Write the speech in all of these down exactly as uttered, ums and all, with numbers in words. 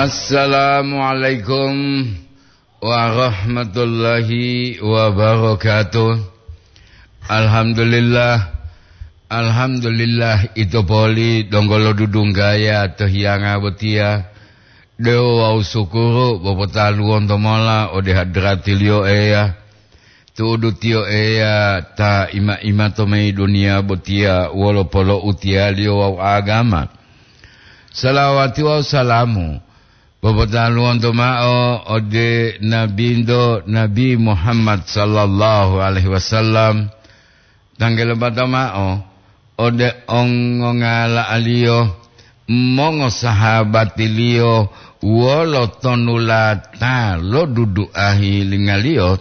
Assalamualaikum warahmatullahi wabarakatuh. Alhamdulillah. Alhamdulillah, ito poli donggo lodudunggaya to hiyanga botiya. Dewo wawu sukuru popotaluwonto mola ode hadratiliyo Eya. Tu'udu tiyo Eya ta ima-ima to mayi duniya botiya wolo polo'utiyaliyo wawu agama. Salawati wawu salamu popotaluwonto ma'o ode Nabinto Nabi Muhammad sallallahu alaihi wasallam, tanggelebata ma'o ode ongongala'aliyo, mongosahabatiliyo wolo tonulata lo duduahi lingaliyo,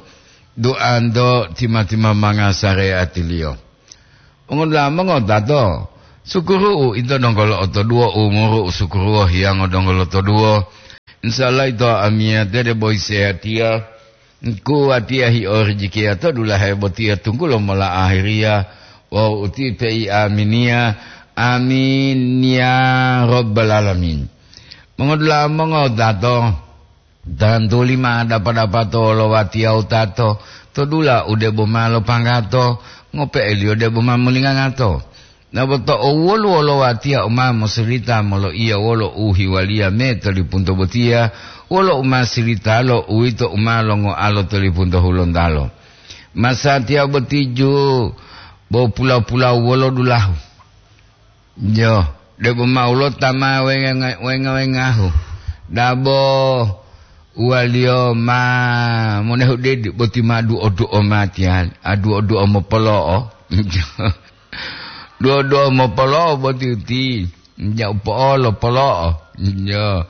duanto tima-timamanga sareatiliyo. Mongodula'a mongotato, sukuru'u ito donggo lo'otoduwo umuru u sukuruwo hiyango donggo lotoduwo. Insya Allah ito amiyate debo isehatiya, kuwatiya hi'orijikiya to dulahe botiya tunggulo mola ahiriya wawu uti pei aminiya. Amin ya rabbal alamin. Mongodula'a mongotato, tantuli ma dapa-dapato lo watiya wutato, to dula u debo ma lopanggato, ngope'eliyo debo ma molingangato. Naboto owoluwo lo watiya u ma mosilita moloiya wolo uhiwaliya me to lipunto botiya, wolo u ma silitalo uwito u ma longoalo to lipunto hulontalo. Masatiya boti ju bo pula-pula wolo dulahu. Jo, debo ma ulo ta ma wenga-, wenga-wengahu. Dabo uwaliyo ma monehu dedi boti ma duo-duo matiyali, a duo-duo mopolo'o. Duo-duo mopolo'o boti uti, ja upo'olo polo'o. Jo.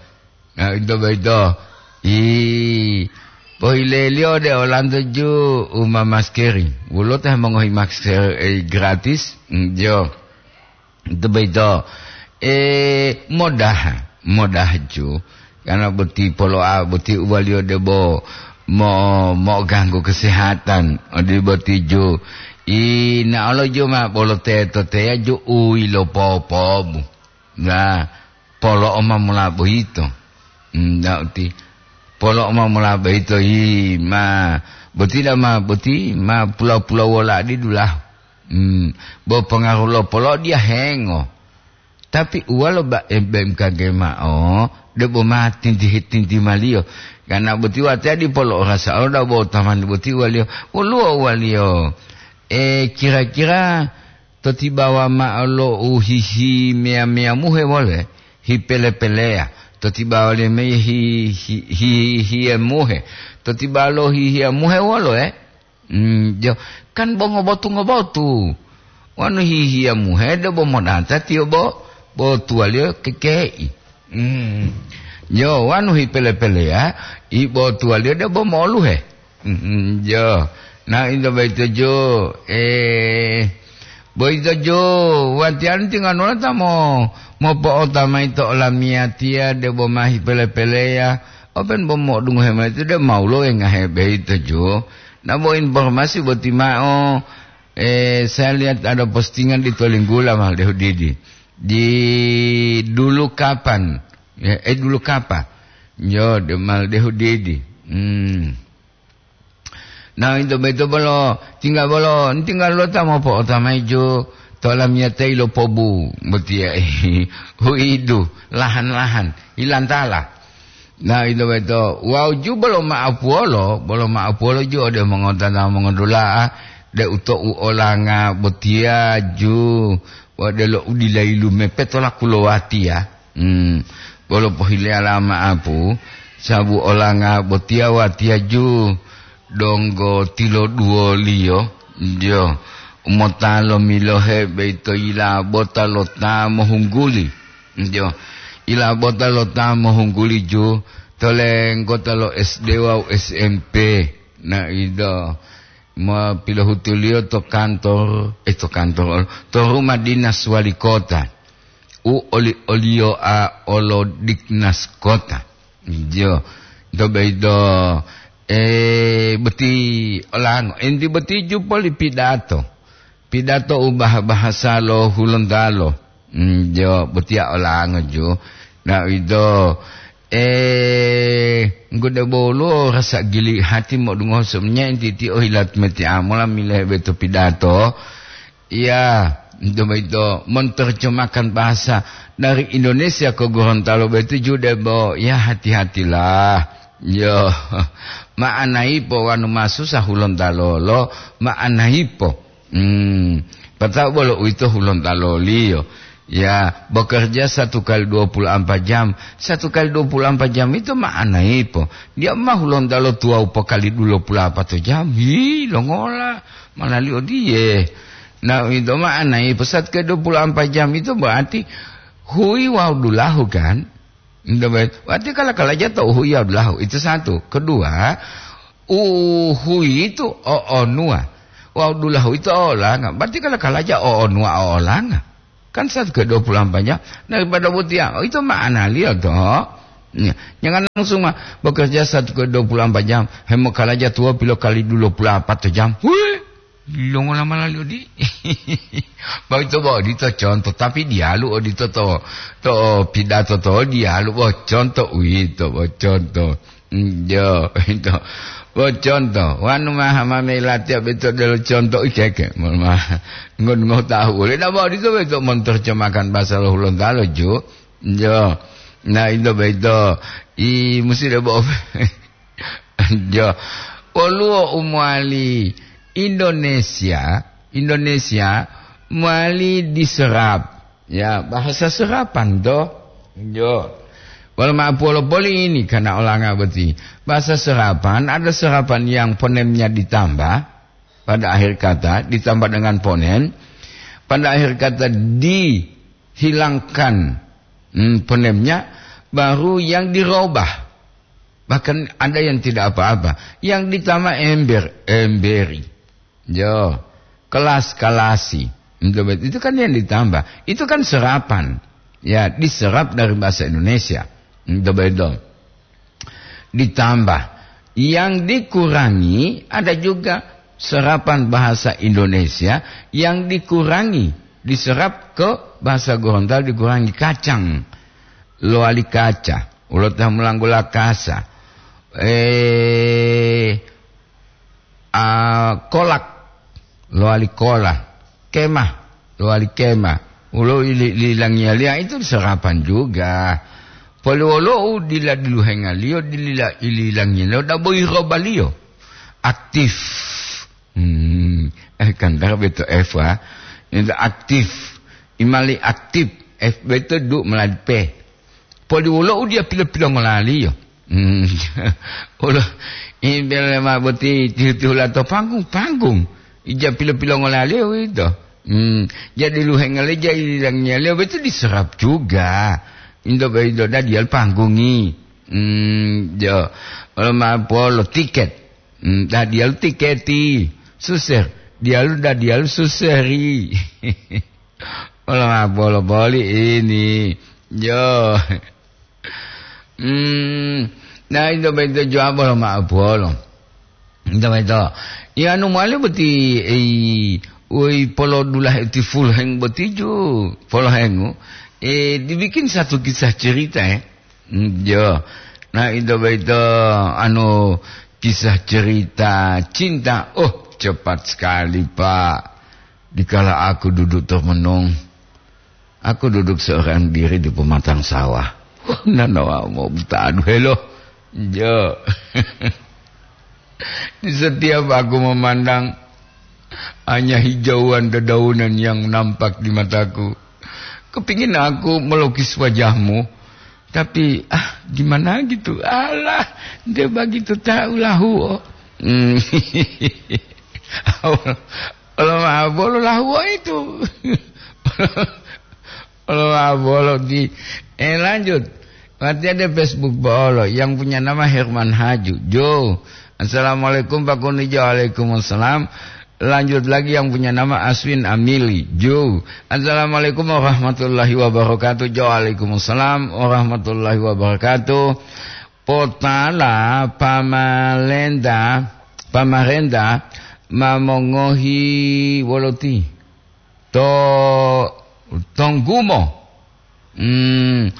Nah, ito boyito. I, pohileliyo de olanto ju uma maskeri. Wolo ta mongohi masker, eh, gratis? Jo. Ito boyito. Eh, modaha, modaha ju. Karena boti polo'a, boti uwaliyo debo mo-, mo'oganggu kesehatan. Odi boti ju. I, na olo ju ma bolo teto teya ju uwi lo popobu. Nah, polo'o ma mola boyito. Hmm, na uti. Polo'o ma mola boyito, yi, ma, boti da ma, boti ma pula-pula wola di dulahu. Hmm, bo pengaruh lo polo'o dia hengo. Tapi uwalo ba-, B M K G ma'o, debo ma tinti-, tintimaliyo. Karena boti watiya di polo'o rasa lo da bo tamani boti uwaliyo. Woluwo uwaliyo. Eh, kira-kira to tibawa ma'o lo u hihi meya-meya muhe wole, hipele-peleya. To tibawa le meye hi-, hi-, hi-, hiye muhe. To tibawa lo hihiya muhe wolo, eh? Hmm, jo, kan bo ngobotu-ngobotu. Wanu hihiya muhe de bo modata tiyo bo, bo tuwaliyo kekei. Hmm. Jo, wanu hipele-peleya, i bo tuwaliyo de bo mo'oluhe. Mm, jo. Na ito boyito jo, eh, boyito jo, watiya tinganola ta mo-, mopo'ota mayi to olamiyatiya debo ma hipele-peleya, open bo mo'odungohe mayi to de mawulo wengahe boyito jo. Na bo informasi boti ma'o, eh, saya lihat ada postingan di Tolinggula, Mal Dehudidi. Di dulu kapan? Ya, eh, dulu kapa? Yo, de Mal Dehudidi. Hmm. Nah, ito boyito bolo, tinggal bolo, tinggal lo ta mopo'ota mayi jo, to lamiyata ilo pobu, botiya, huidu, lahan-lahan, ilantala. Nah, ito boyito, wawu ju bolo ma'apuwolo, bolo ma'apuwolo ju ode mongotata mongodula'a, de uto'u olanga botiya ju, wa delo u dila yilumepe to laku lo watiya. Hmm, bolo pohileyala ma'apu, sabu olanga botiya watiya ju donggo tiloduwoliyo, jo, mota lomilohe boyito yilabota lo ta mohungguli, jo, yilabota lo ta mohungguli ju to lenggota lo S D wawu S M P. Na ido, ma pilohutuliyo to kantor, eh, to kantor, to rumah dinas wali kota. U oli-, oliyo a olo dinas kota. Jo, to boyito, eh, boti olango. Enti boti ju poli pidato. Pidato u bah-, bahasa lo Hulontalo. Mm, jo, botiya olango ju. Na ido, Eh, nggoda bolo rasa gili hati modungoho somnya entiti ohilat metiamola milehe beto pidato. Iya, itu begitu, menerjemahkan bahasa dari Indonesia ke Gorontalo begitu juga, Bo. Ya, hati-hatilah. Yo, ma'anaipo wanu masusa hulontalo lo, ma'anaipo. Hmm, pata'u bolo uwito hulontalo liyo. Ya, bekerja satu kali dua puluh empat jam. Satu kali dua puluh empat jam itu ma'anaipo. Dia mah hulontalo tuwawu pokali dua puluh empat jam. Hi, longola. Manali odiye. Nah, itu ma'anaipo. Satu kali dua puluh empat jam itu berarti hui wawu dulahu, kan? Nto be-, berarti kala-kalaja to uhuyi wawu dulahu. Itu satu. Kedua, uhuyi itu o'onuwa. Wawu dulahu itu o'olanga. Berarti kala-kalaja o'onuwa o'olanga. Kan satu ke dua puluh empat jam. Daripada botiya, oh, itu ma'analiyo to. Ya, jangan langsung mah bekerja satu ke dua puluh empat jam. Hemokalaja tuwa pilo kali dua puluh empat jam. Wih, longola mala liyo di. Boyito bo odito conto, tapi diyalu odito to, to pidato to diyalu bo conto uwito bo conto. Mm, jo, ito. Bo conto, wanu maha mame latiya beto delo conto ikeke. Mon ma-, ngon ngotahu ule. Nah, bo odito beto mon terjemahkan bahasa lo Hulontalo, ju. Jo. Nah, ito beto. I musi debo. Jo. Woluwo u mowali Indonesia, Indonesia mowali diserap. Ya, bahasa serapan to. Jo. Wolo ma'o polo poli ini karena olanga boti. Bahasa serapan, ada serapan yang ponemnya ditambah pada akhir kata, ditambah dengan ponem. Pada akhir kata dihilangkan, hmm, ponemnya, baru yang dirubah. Bahkan ada yang tidak apa-apa. Yang ditambah ember, emberi. Yo, kelas, kalasi. Itu, itu kan yang ditambah. Itu kan serapan. Ya, diserap dari bahasa Indonesia. Itu betul. Ditambah. Yang dikurangi, ada juga serapan bahasa Indonesia yang dikurangi. Diserap ke bahasa Gorontalo, dikurangi kacang. Lowali kaca. Ulo ta mulanggola kasa. Eh, ah, kolak, lowali kola, kemah, lowali kemah. Ulo ili-, ililangiyaliya itu serapan juga. Poliwolo u dila diluhengaliyo, dilila ililangiyaliyo, dabo irobaliyo. Aktif. Hmm, eh, kan dara beto F, ah. Itu aktif. Imali aktif. F beto du meladi P. Poli wolo u diya pilo-pilongolaliyo. Hmm. Wolo, i bele ma boti tihu-tihula to panggung-panggung. Ija pilo-pilongolaliyo uwito. Hmm. Jadi luhengale ja ililangiyaliyo betu diserap juga. Indo be indo dadiyalu panggungi. Hmm, jo. Wolo ma polo tiket. Hmm, dadiyalu tiketi. Suser. Diyalu dadiyalu suseri. Wolo ma bolo boli ini. Yo. Hmm. Nah, ito beto jawab wolo ma bolo. Ito beto. Ya, anu male boti, eh, woi polo dulahe ti fulheng boti ju. Polo hengu. Eh, dibikin satu kisah cerita, eh. Hmm, yo. Nah, ito beto, anu, kisah cerita cinta. Oh, cepat sekali, Pak. Dikala aku duduk termenung, aku duduk seorang diri di pematang sawah. Nanawa mau buta, aduh, helo. Jo. Di setiap aku memandang, hanya hijauan dedaunan yang nampak di mataku. Kepingin aku melukis wajahmu, tapi, ah, gimana gitu? Alah, dia begitu tahu lahu. Hmm. Olo ma bolo lahuwo itu. Olo ma bolo di. Eh, lanjut. Berarti ada Facebook bolo yang punya nama Herman Haju. Jo. Assalamualaikum Pak Kunijo. Waalaikumsalam. Lanjut lagi yang punya nama Aswin Amili. Jo. Assalamualaikum warahmatullahi wabarakatuh. Jo. Waalaikumsalam warahmatullahi wabarakatuh. Potala pamalenta, pamarenta ma mongohi woloti to tonggumo. Hmm,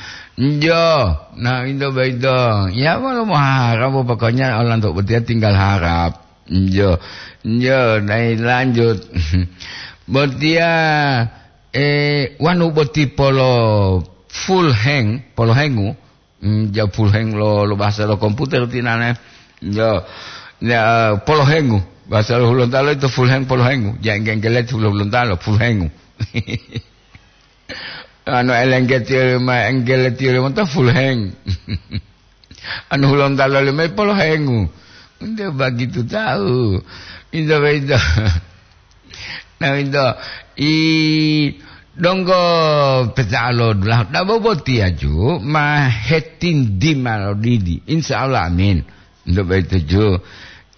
jo, nah, itu begitu. Ya, walau mau harap, pokoknya orang untuk betia tinggal harap. Jo, jo, nah, lanjut. Betia, eh, wanu boti polo full hang, polo hengu. Hmm, ja full hang lo, lo bahasa lo komputer tinane. Jo, ya, polo hengu. Bahasa lo Hulontalo itu full hang, polo hengu. Ja engge-enggelet Hulontalo, full hengu. Anu elengge tiyo ma enggele tiyo ma ta full hang. Anu Hulontalo le mai polo hengu. Nde begitu tahu. Inda beda. Nah, inda i donggo petalo dulah. Da bobo tiaju ma hetindi ma lo didi. Insya Allah, amin. Untuk begitu ju.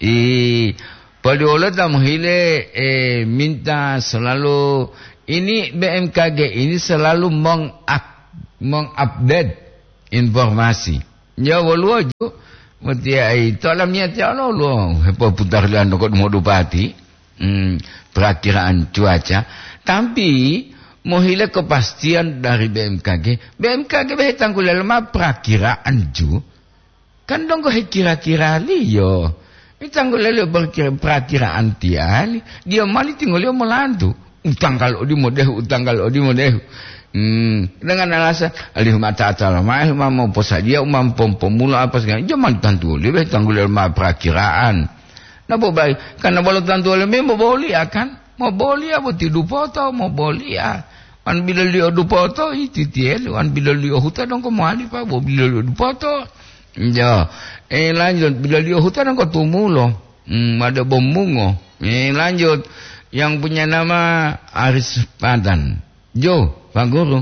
I, padiwolo ta mohile, eh, minta selalu, ini B M K G ini selalu mengak-, mengupdate informasi. Ya, woluwo ju, mutia ai, to lamiyati olo lo, hepoputar liyan ko dumo dupati, hmm, perakiraan cuaca. Tapi, mohile kepastian dari B M K G. B M K G behe tanggulelo ma perakiraan ju. Kan donggo hekira-kiraliyo. Itanggu lele berkira-, perakiraan tiyali. Dia mali tingoliyo molantu. Utanggal odi modehu, utanggal odi modehu. Hmm, dengan alasan, alihu mata atala mahe, ma mau posadiya, umam pom-, pomula apa segala. Jaman tantu libe tanggu lele ma perakiraan. Napa baik? Karena bolo tantu lele memo boli akan. Mau boli apa tidu poto, mau boli ah. Wan biloliyo dupoto, ititiyelo. Wan biloliyo huta dongko mowali, Pak, bo biloliyo dupoto. Jo. Eh, lanjut, biloliyo huta dongko tumulo. Hmm, ada bomungo. Eh, lanjut. Yang punya nama Aris Padan. Jo, Pak Guru.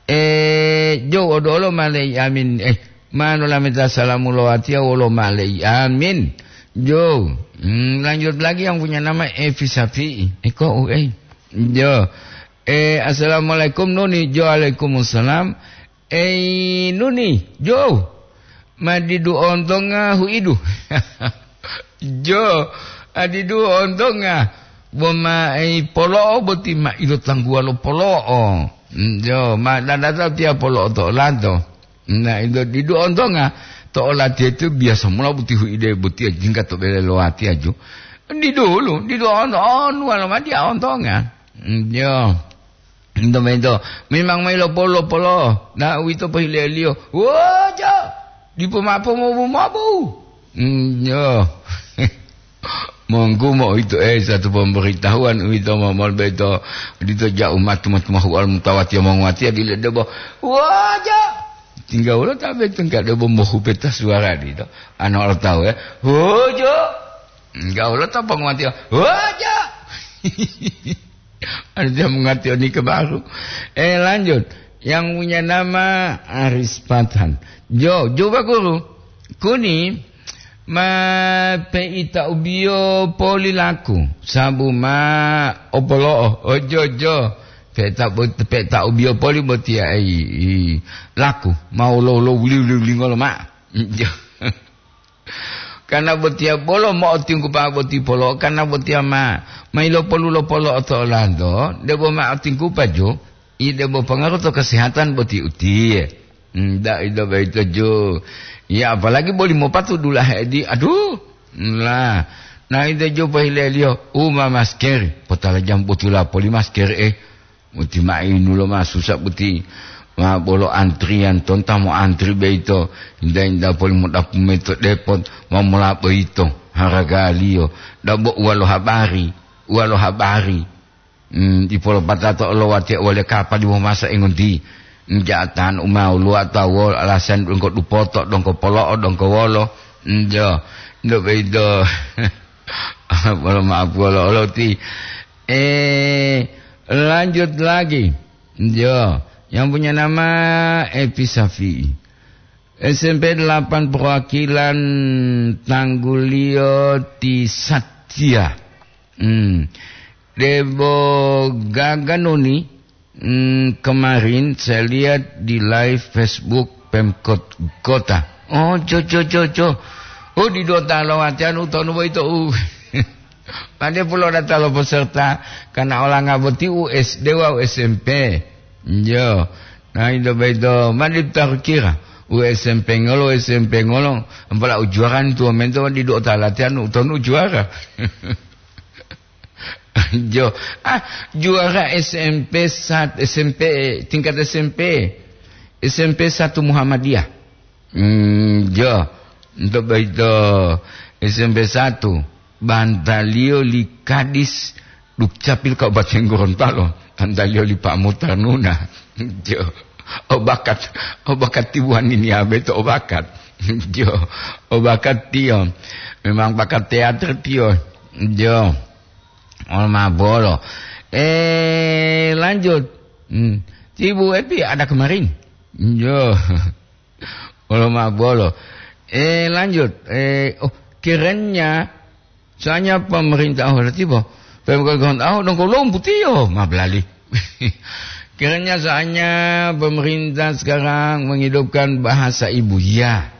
Eh, jo, odolo malei amin. Eh, mano lameta salamu lo watiya wolo malei amin. Jo. Hmm, lanjut lagi yang punya nama Evi Sapi. Eh, kok, eh. Jo. Eh, assalamualaikum, Nuni. Jo, waalaikumsalam. Eh, Nuni, jo. Ma didu ontonga huidu. Jo, a didu ontonga. Bo ma, eh, polo'o boti ma ilo tangguwa lo polo'o. Mm, jo, ma dadata tiya polo'o to olanto. Nah, ilo didu ontonga. To olatiya itu biasa mula boti huide boti jingga to bele lo watiya jo. Didulu, didu onto, onu walo ma dia ontonga. Mm, jo. Ento mento, memang mayi lopolo-lopolo, na uwito pohileliyo. Wojo! Dipo ma'o pomobu-mobu. Hmm, yo. Monggu mo uwito, eh, satu pemberitahuan uwito mo-, mol beto, dito ja umat matu-matu mahuwal mutawatiya monguwatiya dile debo. Wojo! Tingga wolo tabe tengka debo mohu peta suara dito. Ana olo tahu, eh. Wojo! Enggak wolo ta penguwatiya. Wojo! Ada dia mengerti oni ke baru. Eh, lanjut. Yang punya nama Aris Pathan. Jo, coba guru. Kuni ma peita ubiyo poli laku. Sabu ma opolo'o. Ojo, jo. Peita, peita ubiyo poli botiya ai, i, laku. Ma ulo-ulo wuli-wuli ngolo ma. Jo. Karna botiya bolo mo'otinggupa boti polo'o, karna botiya ma, ma ilopolu lo polo'o to olanto, debo ma otinggupa jo, i debo pongaru to kesehatan boti utiye. Hmm, da ida boyito jo. Ya, apalagi boli mopatu dulahe di, aduh, la, na ida jo pohileliyo, uma masker, potala jam botula poli masker, eh. Uti ma'inu lo ma susa boti. Ma bolo antrian tonta mo antri boyito. Inda-inda poli modapu mayi to depot, ma mola boyito haragaliyo. Dabo uwa lo habari, uwa lo habari. Hmm, dipolopatato lo watiya wale kapali mo masa engonti. Nja'atan umau luwa tawo alasan dongko dupoto, dongko polo'o, dongko wolo. Njo, ndo boyito. Bolo maaf wolo-wolo ti. Eh, lanjut lagi. Jo, yang punya nama Epi Safi. S M P delapan perwakilan tangguliyo ti Satya. Hmm. Debo gaga noni, hmm, kemarin saya lihat di live Facebook Pemkot Kota. Oh, jo, jo, jo, jo. Oh, di dota lo watiya utonu boyito u. Pade pulo data lo peserta, karena olanga boti u S D wawu S M P. Yo. Nah, itu begitu. Mandi taruh kira. U S M P ngolo, U S M P ngolo. Ampala u juara ni tuo mento, didu otalatian, utonu juara. Jo. Ah, juara S M P sat-, S M P, tingkat S M P. S M P satu Muhammadiyah. Hmm, jo. Untuk begitu S M P satu, bantaliyo li Kadis Dukcapil Kabupaten Gorontalo, bantaliyo li Pak Mutarnuna. Jo. Obakat, obakat tibuan ini abe to obakat. Jo. Obakat tiyo. Memang bakat teater tiyo. Jo. Olo ma bolo. Eh, lanjut. Hmm. Tibu Epi ada kemarin. Jo. Olo ma bolo. Eh, lanjut. Eh, oh, kerennya soalnya pemerintah, oh, tibo. Pemerintahan, oh, dong kolom putiyo, ma belali. Kerennya soalnya pemerintah sekarang menghidupkan bahasa ibu. Ya.